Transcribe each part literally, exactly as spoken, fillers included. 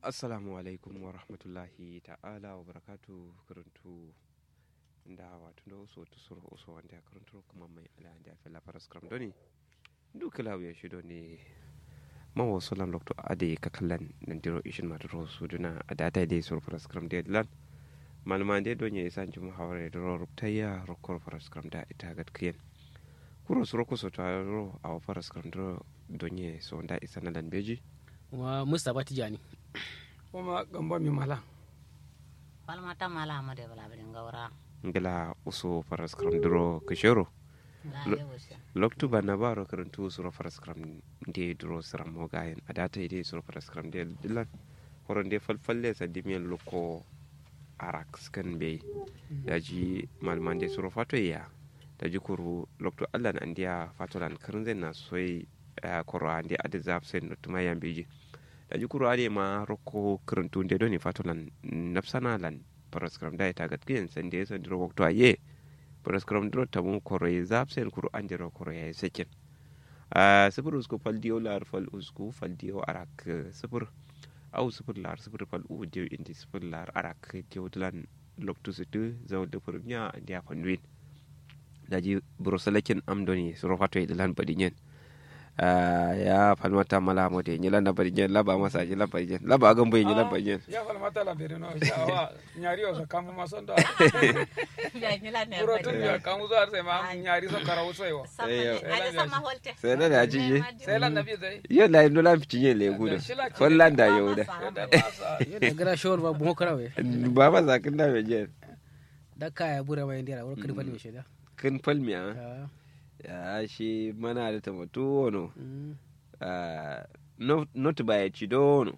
Assalamu alaikum warahmatullahi ta'ala wabarakatu. Kǝrǝntu nda wato ndo uso tusuro uso wande a kǝrǝntu kǝma mai ala nde a fella faraskram doni. Ndu kǝla wuye shi doni. Mawo solan lokto ade kakallan nandiro ishin maturo suduna adata ide suro faraskram de lan. Malma nde donye isan jumu haware duro ruptayya rokkoro faraskram da ita gatkiyen. Kuro suro kuso taro awo faraskram duro donye so nda isana lan beji. Wa mustapha tijani. Kuma gambo mi mala. Falmata mala amade bala bari ngaura. Ngila uso faraskram duro kishero. Loktu banna baro kǝrǝntu suro faraskram nde duro sǝrammo gayen adata ide suro faraskram nde dilan. Koro nde falfalle sandimiyen lokko arak sǝkan mbeyi. Daji malma nde suro fatoye ya. Daji kuru loktu allan andiya fatolan kǝrǝnzen na soi. Koro ande adǝ zafsen notuma yambiji. Daji kuru ade ma rokko kǝrǝntu nde doni fatolan nafsana lan. Faraskram da ita gatkiyen sande sandiro waktu aye. Faraskram duro tamu koro ye zafsen kuru andiro koro yayi sakin. Sǝfur usku fal diyo lar fal usku fal diyo arak sǝfur. Au sǝfur lar sǝfur fal u diyo indi sǝfur lar arak diyo dilan. Loktu sǝtǝ zawo dǝ fǝrmiya andiya fanduwin. Daji buro salakin am doni suro fatoye dilan badinyen. Ya falmata mala amode nyilan na badinyen laba masa nyilan badinyen laba agambo nyilan badinyen. Ya falmata la berino shawa. Nyari yo so kamu ma sondo. Kuro tun ya kamu so har sai ma nyari so karawu sai wa. Sai na da ciji. Sai lan nabi sai. Yo la indo lan ficinye le gudu. Fallan da yo da. Yo da gara shawar ba bumo karawe. Ba ma sakin da me jen. Da kaya bure ma indira wuro kǝrfal me sheda. Kǝrfal me a. Ya shi mana da tamatu wono. Not ba ya ci dono.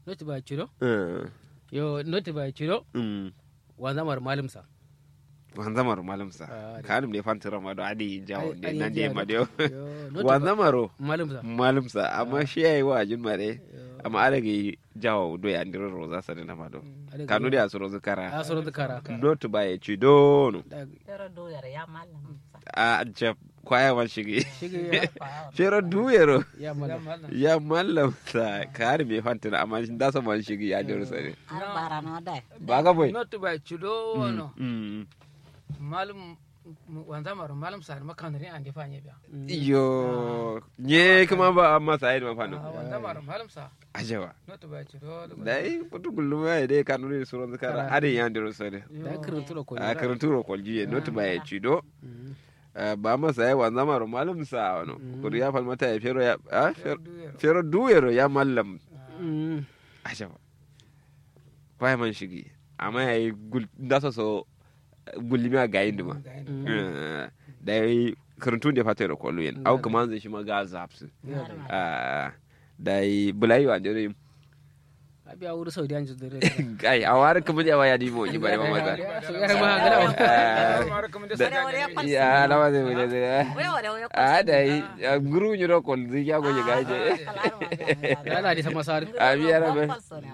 Noti ba ciro. Yo noti ba ciro. Wanzamar malumsa. Wanzamar malumsa. Kanum de fanti rama do adi jawo de nan de ma de. Wanzamaro malumsa. Malumsa amma shi yayi wa ajin ma de. Amma ada gi jawo do ya ndiro roza sani na ma do. Kanu de asuro zukara. Asuro zukara. Noti ba ya ci dono. Yaro do yaro ya malumsa. A jab kwaya man shigi. Fero duyero. Ya mallam sa kari me fantina amma nda so man shigi ya dero sare. Ba ga boy. Not ba cido wono. Malum wanza maro malum sa ma kanri ande fanye biya. Iyo. Nye kuma ba amma sa yi ma fano. Wanza maro malum sa. Ajewa. Dai kutu gullum ya dai kanuri suron zikara adin ya dero sare. A karanturo koljiye not ba ya cido. Ba masa ya wanza maro malum sa wano. Kuru ya falmata ya fero ya fero duwero ya mallam. Asha ba kwai man shigi amma ya yi nda so so gullimi a gayin duma. Da ya yi karantun da fata yaro kwallo yin au kuma zai shi ma ga zafsu. Da ya yi bulayi wa jere. Abiya wuri sau diyan judure. Kai a wari kuma jawa ya dimo ji bare mama ta. Ya lawa zai mu jere. A da yi guru nyiro kol zai ya goje gaje. Ala di sama sar. Abiya rabbe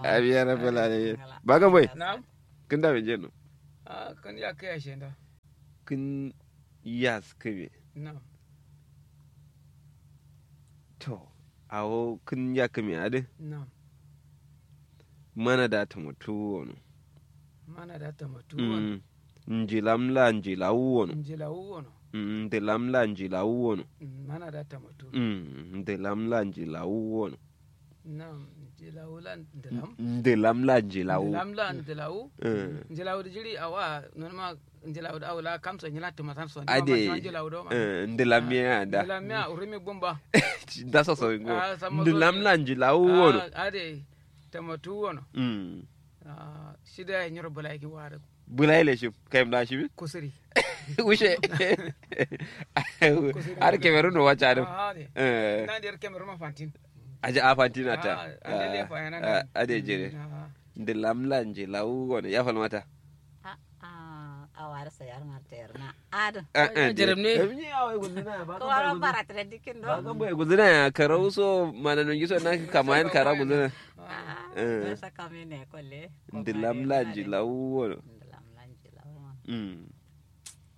abiya rabbe lale. Baga boy. Kin da me jeno. Kin ya kai ashe nda. Kin yas kame. To awo kǝn nja kǝmi adǝ. Mana da tamatu wono. Mana da tamatu wono. Njilam la njilawu wono. Njilawu wono. Ndilam la njilawu wono. Mana da tamatu. Ndilam la njilawu wono. Nam njilawu la ndilam. Ndilam la njilawu. Ndilam la ndilawu. Njilawu da jiri awa nonuma. Njilawu da awu la kamso nyila tumatan so ade. Njilawu do ma ndilam ya da. Ndilam ya urumi bumba. Da so so ngo. Ndilam la njilawu wono. Ade tamatu wono. Shi da nyiro bulai ki wada. Bulai le shi kayim da shi bi kusuri. Wushe. Har kemeru no wacha dum. Nan der kemeru ma fantin. Aja a fantin ata. Ade jere. Ndilam la njilawu wono ya falmata. A'a awara sayar ngar tayar na adǝ. Jerem ne. Kawara bara tǝra dikin do. Baga boye guzuna ya karau so mana nungi so na kamayan kara guzuna. A'a sa kame ne kolle. Ndilam la njilawu wono. Ndilam la njilawu wono.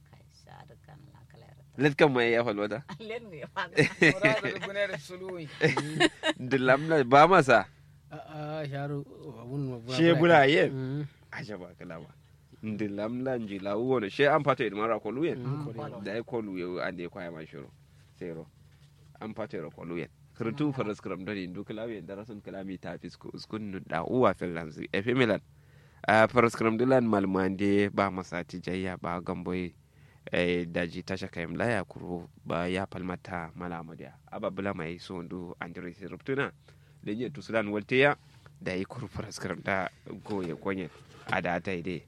Kai sa dǝ kan la kala yara. Let kan mai ya falwata. Let ngai fa. Ndilam la ba masa. A'a. Shi bula yen. Ajaba kǝla ba. Ndǝ lamla nji lawu wono she am fato yedǝ maro a kolu yen. Dayi kolu yewu ande kwaya ma shiro. Sero am fato yero kolu yen. Kǝrǝtu faraskǝram done ndu kǝlawu yen darason kǝla mita fisko uskun nudda uwa fellanzǝ efe milan. Faraskǝram dǝ lan malmande ba masati jayya ba gamboye. Daji tasha kayim laya kuru ba ya falmata mala amadiya aba bǝla mayi sondu andiro isi rubtuna. Lenye tusulan walteya. Dayi kuru faraskǝram da goye konyen. Ada atayi de.